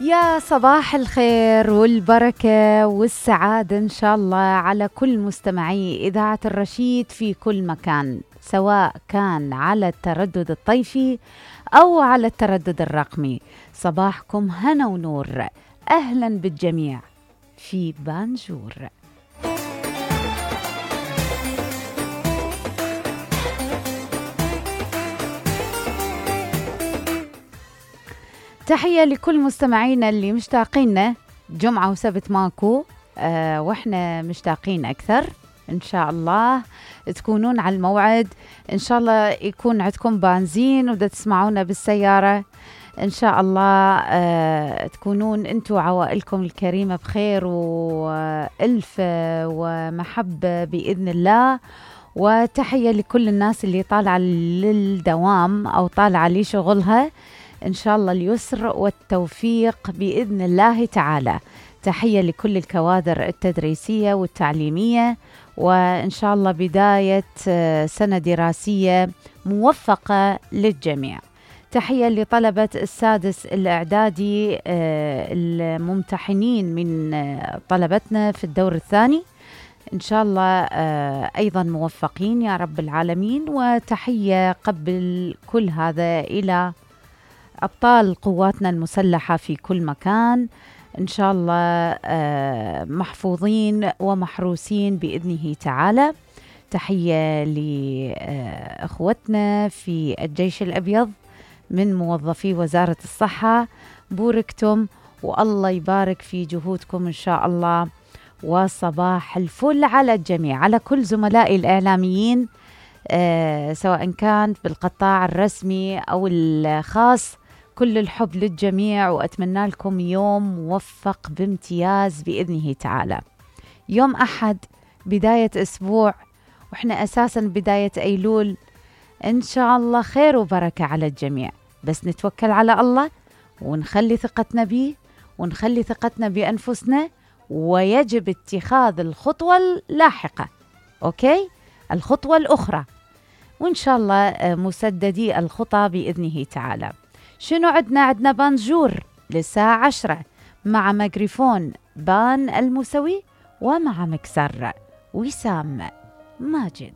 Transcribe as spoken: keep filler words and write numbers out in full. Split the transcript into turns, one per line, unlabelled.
يا صباح الخير والبركة والسعادة إن شاء الله على كل مستمعي إذاعة الرشيد في كل مكان، سواء كان على التردد الطيفي أو على التردد الرقمي. صباحكم هنا ونور، أهلا بالجميع في بانجور. تحية لكل مستمعينا اللي مشتاقيننا، جمعة وسبت ماكو آه وإحنا مشتاقين أكثر. إن شاء الله تكونون على الموعد، إن شاء الله يكون عندكم بنزين ودا تسمعونا بالسيارة. إن شاء الله آه تكونون أنتوا وعوائلكم الكريمة بخير وألف ومحبة بإذن الله. وتحية لكل الناس اللي طالعة للدوام أو طالعة لشغلها، إن شاء الله اليسر والتوفيق بإذن الله تعالى. تحية لكل الكوادر التدريسية والتعليمية، وإن شاء الله بداية سنة دراسية موفقة للجميع. تحية لطلبة السادس الإعدادي الممتحنين من طلبتنا في الدور الثاني، إن شاء الله أيضا موفقين يا رب العالمين. وتحية قبل كل هذا إلى أبطال قواتنا المسلحة في كل مكان، إن شاء الله محفوظين ومحروسين بإذنه تعالى. تحية لأخوتنا في الجيش الأبيض من موظفي وزارة الصحة، بوركتم والله يبارك في جهودكم إن شاء الله. وصباح الفل على الجميع، على كل زملائي الإعلاميين أه سواء كان بالقطاع الرسمي أو الخاص، كل الحب للجميع، وأتمنى لكم يوم موفق بامتياز بإذنه تعالى. يوم أحد بداية أسبوع، وإحنا أساساً بداية أيلول، إن شاء الله خير وبركة على الجميع. بس نتوكل على الله ونخلي ثقتنا به ونخلي ثقتنا بأنفسنا، ويجب اتخاذ الخطوة اللاحقة، أوكي؟ الخطوة الأخرى، وإن شاء الله مسددي الخطى بإذنه تعالى. شنو عدنا؟ عدنا بانجور للساعة عشرة مع ميكروفون بان الموسوي، ومع مكسر وسام ماجد.